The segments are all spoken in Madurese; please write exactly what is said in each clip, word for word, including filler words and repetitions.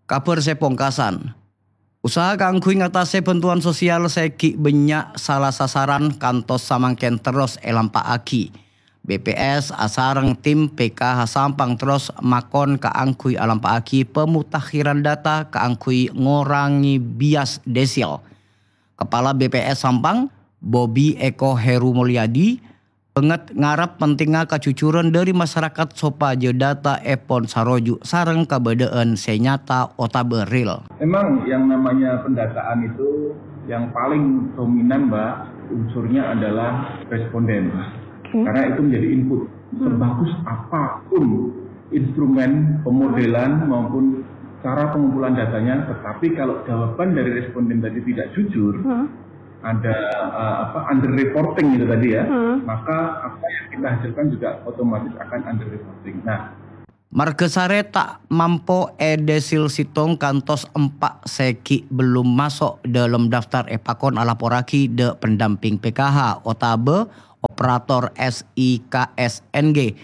Kabhâr sè pongkasan. Usaha kaangghuy ngatasè bhântowan sosial sè ghi' bânnya' sala sasaran kantos samangkèn terros èlampa'aghi. B P S asareng tim P K H Sampang terros makon kaangghuy alampa'aghi pemutakhiran data kaangghuy ngorangè bias desil. Kepala B P S Sampang, Bobi Eko Heru Mulyadi, bângèt ngarep pentingnga kajujuran dhâri masarakat sopajâ dataèpon saroju' sareng kabâdâ'ân sè nyata otabâ real. Memang yang namanya pendataan itu yang paling dominan, Mbak, unsurnya adalah responden. Oke. Karena itu menjadi input. Hmm. Sebagus apapun instrumen pemodelan maupun cara pengumpulan datanya, tetapi kalau jawaban dari responden tadi tidak jujur, Hmm. ada, eh, apa, under reporting itu tadi ya, Hmm. maka apa yang kita hasilkan juga otomatis akan under reporting. Nah, Margasarè ta' mampo èdesil sèttong kantos empa' sè ghi' bellum maso' dâlem daftar èpakon alaporraghi dâ' pendamping P K H otabâ operator S I K S N G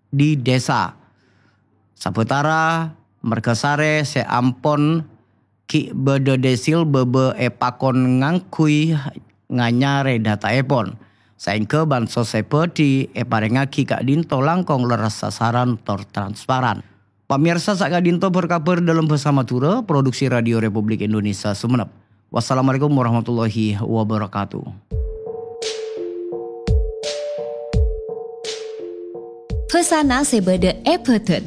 di dhisa. Sabâtara margasarè sè ampon ghi' bâdâ desil bâbâ èpakon ngangghuy nganyarè dataèpon, saèngghâ bansos sè bhâdhi èparèngaghi ka'dinto langkong lerres sasaran tor transparan. Pamirsa, saka'dinto bhâr-kabhâr dâlem bhâsa Madhurâ, produksi Radio Republik Indonesia Sumenep. Wassalamualaikum warahmatullahi wabarakatuh. Bhâsana sè bâdâ è bhâdhân.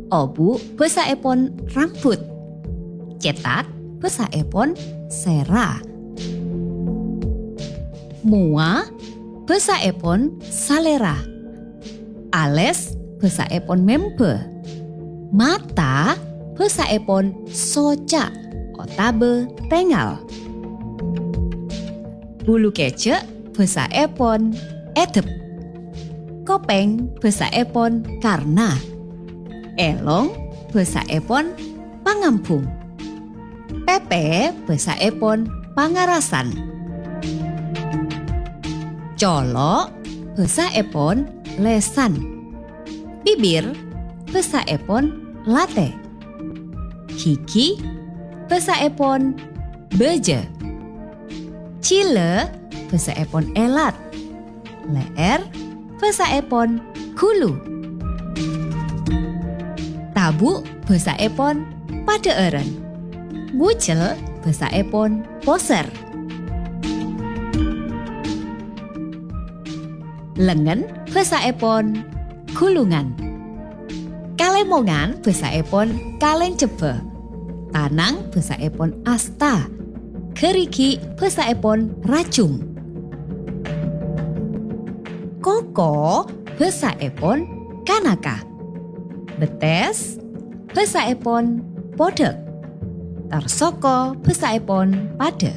Obu' bhâsaèpon rambut. Cètak bhâsaèpon sèra. Mowa bhâsaèpon salèra. Alès bhâsaèpon membhâ. Mata bhâsaèpon soca' otabâ tèngal. Bulu kèjhâ' bhâsaèpon èdhep. Kopèng bhâsaèpon karna. Èlong bhâsaèpon pangambhung. Pèpè bhâsaèpon pangarasan. Colo' bhâsaèpon lèsan. Bibir bhâsaèpon latè. Ghighi bhâsaèpon bâjâ. Jhilâ bhâsaèpon èlat. Lè'èr bhâsaèpon ghulu. Tabu' bhâsaèpon padhâ'ârân. Bujel bhâsaèpon posèr. Lengngen bhâsaèpon ghulungan. Kalèmongan bhâsaèpon kalèng jebbhâ. Tanang bhâsaèpon asta. Ghârighi' bhâsaèpon rajung. Koko bhâsaèpon kanaka. Bettès bhâsaèpon podhâk. Tor soko bhâsaèpon padhâ.